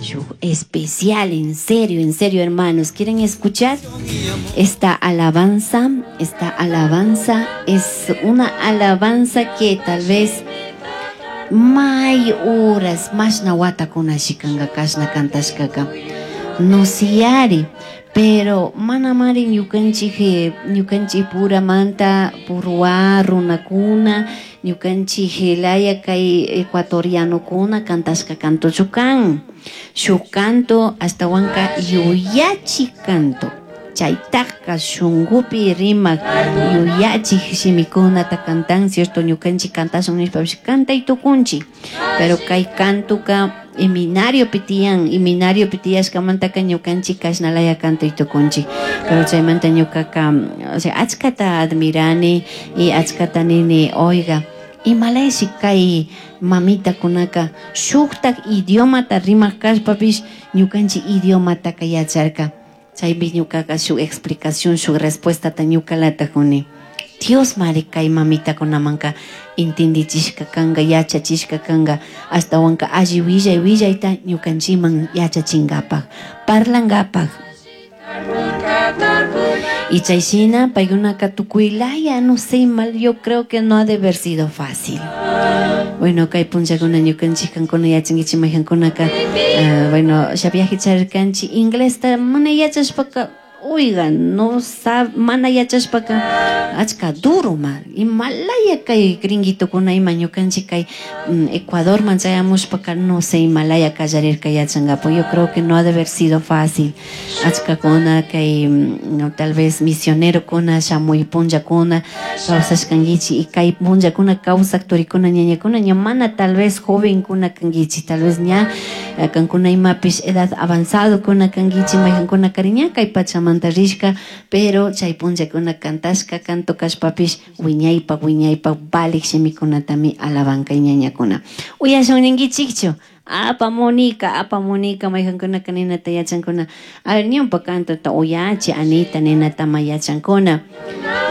Shuk especial, en serio, en serio, hermanos. ¿Quieren escuchar esta alabanza? Esta alabanza es una alabanza que tal vez may horas mashna watakuna shikanga kashna kantashkaka no siyari, pero manamari ñukanchik ñukanchik puramanta purwa runakuna ñukanchik laya kay ecuatorianokuna kantashka kantochu kan. Shuk canto ashtawanka yuyachik canto, chaytaka shunkupi rimak yuyachik shimikunata kantan, cierto? Ñukanchik kantashun nishpapish kantay tukunchik, pero kay kantuka iminariopi tiyan, iminariopi tiyashkamantaka ñukanchik kashnalaya kantay tukunchik. Pero chaymanta ñukaka, o sea, achkata admirani y achkata nini, oiga, imalayashi kay mamitakunaka shuktak idiomata rimak kashpapish ñukanchik idiomataka yacharka. Chaypi ñukaka shuk explicación, shuk respuestata ñukalata kuni. Dios mari kay mamitakunamanka entendichishka kanga, yachachishka kanga, ashtawanka alli willay willayta ñukanchikman yachachinkapak, parlankapak. Y chay shina paykunaka tukuylaya, no sé, mal, yo creo que no ha de haber sido fácil. Bueno, kay punllakuna ñukanchik kankuna yachankichik mayqankunaka, bueno, viaje charirkanchik inglesta mana yachashpaka, oiga, no sab, mana yachashpaka achka duro ma, imalaya kay gringuitokuna ima ñukanchik kay Ecuadorman chayamushpaka no sé imalaya kallarirka yachankapak. Yo creo que no ha de haber sido fácil. Achkakuna kay no, tal vez misionerokuna shamuy punllakuna kawsashkankichik y kay punllakuna kawsak turikuna ñañakuna ña mana tal vez jovenkuna kankichik, tal vez ña kankuna imapish edad avanzadokuna kankichik, mayqankuna kari ña kay pachamanta rishka, pero chay punllakuna kantashka canto kashpapish wiñaypak wiñaypak valik shimikunatami alabanka ñañakuna. Uyashun ninkichikchu? Apamunika, apamunika, mayqankunaka ninata yachankuna. A ver, ñawpa cantota uyachi, Anita, ninata ma yachankuna.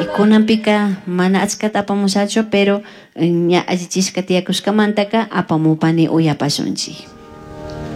Y kunanpika mana achkata apamushachu, pero ña allichishka tiyakushkamantaka apamupani uyapashunchik.